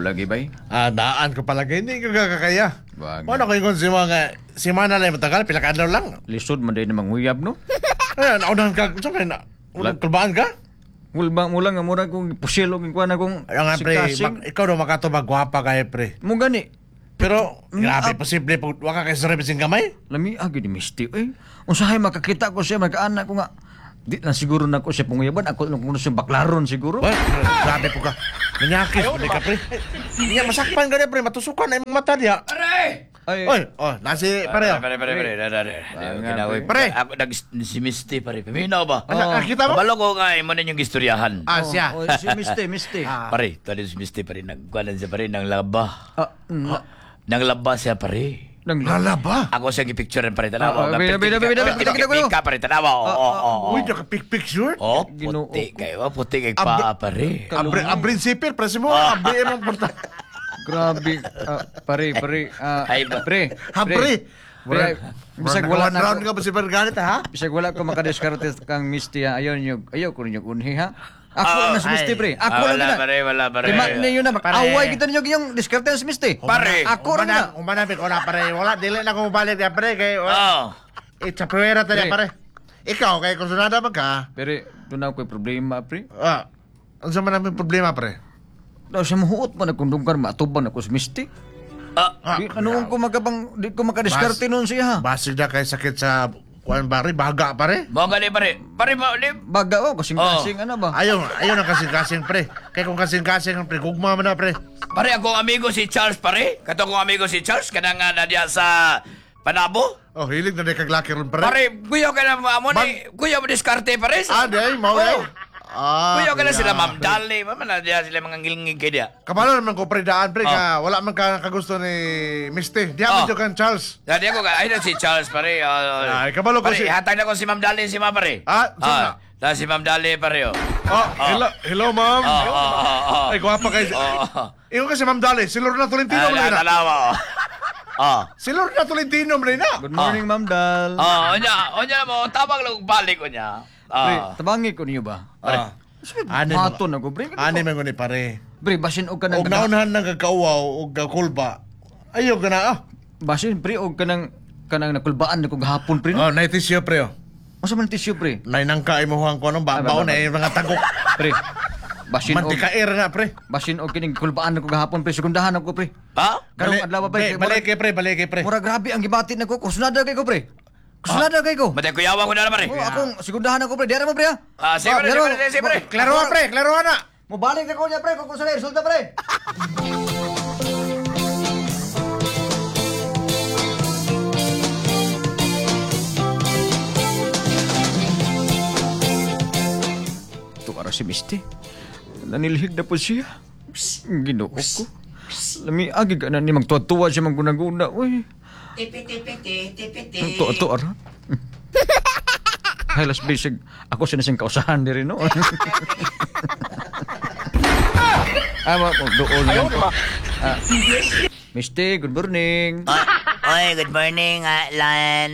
lagi bay. Ah, daan ko palagi. Hindi ko kakaya. Bagay. Ano ko yung si mga simana lang matagal, pila ka adlaw lang. Lisod man day na manguyab no. Ay, naunahan ka. Saan ka na? Unang kulbaan ka? Mulba mo lang nga mura kong pusil og kuan akong Ayun nga, pre. sikasing. Ikaw daw makatubag, gwapa kayo, pre. Mo gani. Pero, grabe, posible. Pag waka kay sa sing gamay. Lami agi ni Misty eh. Unsahay makakita ko siya magkaanak ko nga. Di lang siguro nako siya panguyaban ako lang kuno siya baklaron siguro. Well, grabe po ka. Manyakis, pre ka, pre. Hindi nga, masakpan ka na, pre. Matusukan na imong mata niya. Aray! Ay, Oy, oh, nasi, pare. Pare, pare, pare. Pare, pare. Pre. Pre. Ako nag si Misty, pare. Paminaw ba? Ano, nakita mo? Kabalo ko nga, mo ninyong istoryahan. Ah, siya. Oh, si Misty, Misty. Ah. Pare, tali si Misty, pare. Nagkuhanan siya, pare, ng laba. Ah, Nang laba siya, pare. nang Lalaba. Ako siyang gipicturean, pare. Tanawa. Ah, bida, bida, bida, bida, bida, bida. Ka, pare. Tanawa. Oo, oo, oo. Uy, naka-pic-picture. Oh, Ginoo puti kayo. Puti kay paa, pare. Abre, abrin sipir, pre. Mo, abre imong porta. Grabe. Ah, pare, pare. Ah, Ay, ba- pre. Habre. Pre, bisag wala na round ko, ka ba si Berganit, ha? bisag wala ko makadiskarte kang Misty ha. Ayaw niyo, ayaw ko ninyo unhi ha. Ako lang na si Misty pre. Ako Ah, lang wala, na. pare, wala, pare. Lima ninyo na mag-away kita ninyo yung diskarte na si Misty. Pare. Ako rin na. Umanapit ko na, pare. Wala, dili na ko mabalik ya, pre. Kay, wala. Oh. Itsapuera ta niya, Pre. pare. Ikaw, kay kursunada man ka. Pero doon ako ko'y problema pre. Ah, ano man namin problema, pre? Daw siya mahuot man akong dungkan maatubang ako si Misty. Ah, Di, ano ko magabang di ko makadiskarte noon siya ha. Basig na kay sakit sa kuan pare, baga pare. Mo gani pare. Pare mo di. Baga oh, kasing-kasing ano ba? Ayaw, ayaw ng kasing-kasing pre. Kay kung kasing-kasing pre, gugma man na pre. Pare akong amigo si Charles pare. Kato akong amigo si Charles kanang nga na diya sa Panabo. Oh, hilig na di kag laki ron pre. Pare, kuya ka na amo ni, kuya mo diskarte pare. Ah, di ay, mao ay. Oh. Ah, Kuya ka na kuya. sila Ma'am Dali, mama na diya sila mga ngilngig kay diya. Kabalo naman ko pre daan pre ka wala man ka kagusto ni Misty. Di Oh. oh. kan Charles. Dati ako ay na si Charles pare. Ay, kabalo ko pare, hatag na ko si Ma'am Dali si Ma'am pare. Ah, saan na? Na si Ma'am Dali pare oh. Oh, hello, hello ma'am. Oh. Ay, gwapa kay. Oh. Ingon kasi Ma'am Dali, si Lorna Tolentino Ah, man na. tanawa. Oh. Oh. Si Lorna Tolentino man na. Good morning, Ma'am Dal. Oh, unya, unya mo tawag lang og balik unya. Pre, Ah. tabangi ko niyo ba? Ah. Ani Haton ako pre. Ani man ko ni pare. Pre, basin og kanang Og naunhan nang kagkauwaw og kakulba. Ayaw ka na ah. Basin pre og kanang kanang nakulbaan na ko gahapon pre. Oh, nay tissue pre. oh. Unsa man tissue pre? Nay nangka imo huang ko anong Ah, babaw ba, ba, na yung mga tagok. Pre. Basin og Mantikair na pre. basin og kining kulbaan na ko gahapon pre, segundahan ako pre. Ha? Karong adlaw ba Balik, balik kay pre, balik kay pre. Mura grabe ang gibati nako, kursunada kay ko pre. Kursunada kay ko. Matay kuyawa ko na lang pare. Oh, akong segundahan ako pre. Diara mo pre ha. Ah, sige, pre, Diara mo. sige, pre, sige, pre. Klaro pre, klaro na. Mobalik na ko niya pre kung sa resulta pre. Tuwara si Misty. Nanilhig na po siya. Ginoo ko. Lami agi ka na ni magtuwa-tuwa siya maggunaguna. Uy. Tipi-tipi-ti, Ang tuwa-tuwa ra. Ay, las bisig. Ako sinasing kausahan diri no. Ah, ma, doon lang ko. Ah, Misty, good morning. Oy, good morning, Lan.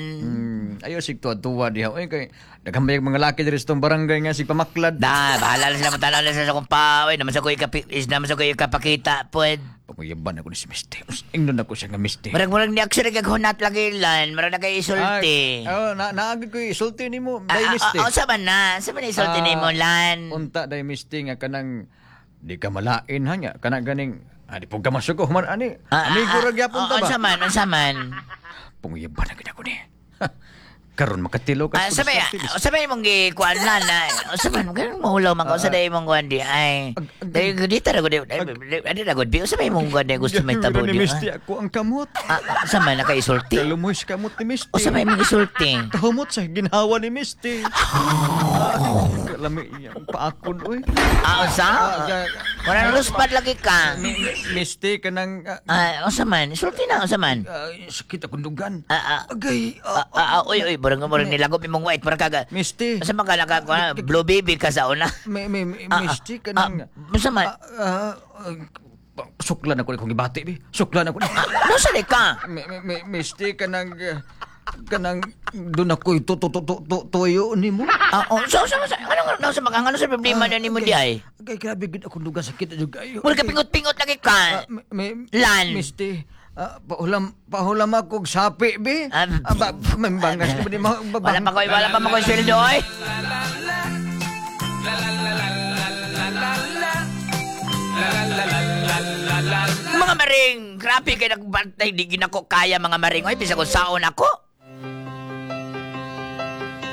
Ayaw sig tuwa-tuwa diha. Uy, kay daghan ba yung mga laki diri sa tong barangay nga sig pamaklad. Da, bahala na sila matanaw na sila sa kong pa. Oy, naman sa ko ikapi, is naman sa ko ikapakita, pwed. Panguyaban ako ni si Misty. Ingnon ako siya nga Misty. Murag-murag ni action nagkaghunat lagi, Lan. Murag na kay isulti. Ay, oh, na naagi ko isulti nimo, Ah, day ah, Misty. ah, Unsa man na? Unsa man isulti Ah, nimo, Lan? Unta day Misty nga kanang di ka malain ha nga kanang ganing di pug ka masuko human ani. Amigo ra gyapon ta ba? Unsa man, unsa man? Panguyaban na gid ako ni. Karon makatilo ka. Ah, sabay, sabay mong gikuan lan na. Unsa man, ganun mahulaw man ka. Unsa day mong kuan di ay. Dai dito ra gud. Adi ra gud. Unsa may mong kuan di gusto may tabo ni di. Misty ako ang kamot. Ah, unsa man nakaisulti? Kalumoy sa kamot ni Misty. Unsa may mong isulti? Kahumot sa ginhawa ni Misty. Kalami iyang paakon oy. Ah, unsa? Mura luspad lagi ka. Misty kanang Ah, unsa man? Isulti na unsa man? sakit akong dugan. Ah, ah. Agay. Ah, ah, ah, uy, uy, murag murag nilagop imong white murag kaga. Misty. Unsa man ka naka blue baby ka sa una? May, Ah, ah, Misty kanang ah, unsa man? Ah, ah, suklan ako ni kong gibati bi. Suklan ako ni. Unsa di ka? Misty kanang Kanang doon ako'y tuyo nimo. Ah, oh, so, so, so, ano, ano, sa mga, ano sa problema na nimo di ay? Kay grabe gid akong dugang sakit na jud kayo. Mura ka pingot-pingot lagi ka. May, Lan. Misti, pahulam, pahulam ako og sapi, be. Ba, may bangas ba di ma, Wala pa makoy sweldo, oy. Mga maring, grabe kay nagbantay, di ginako kaya mga maring. Oy, bisa kung saon ako.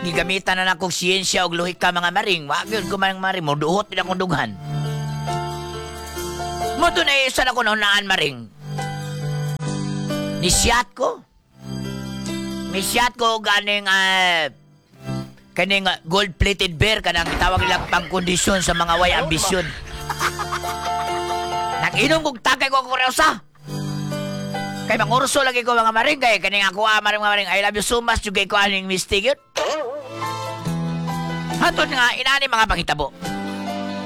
Gigamitan na nakong siyensya og lohika mga maring. Wa gyud ko man maring, moduhot din akong dughan. Mo to na isa na ko naunaan maring. Nisiyat ko. Nisiyat ko ganing kaning gold-plated bear kanang gitawag nilang pangkondisyon sa mga way ambisyon. Nag-inom kog tagay ko kuryosa. Kay mangurso lagi ko mga maring kay kaning ako maring mga maring I love you so much jud kay ko aning mistake yun. Hatod nga inani mga panghitabo.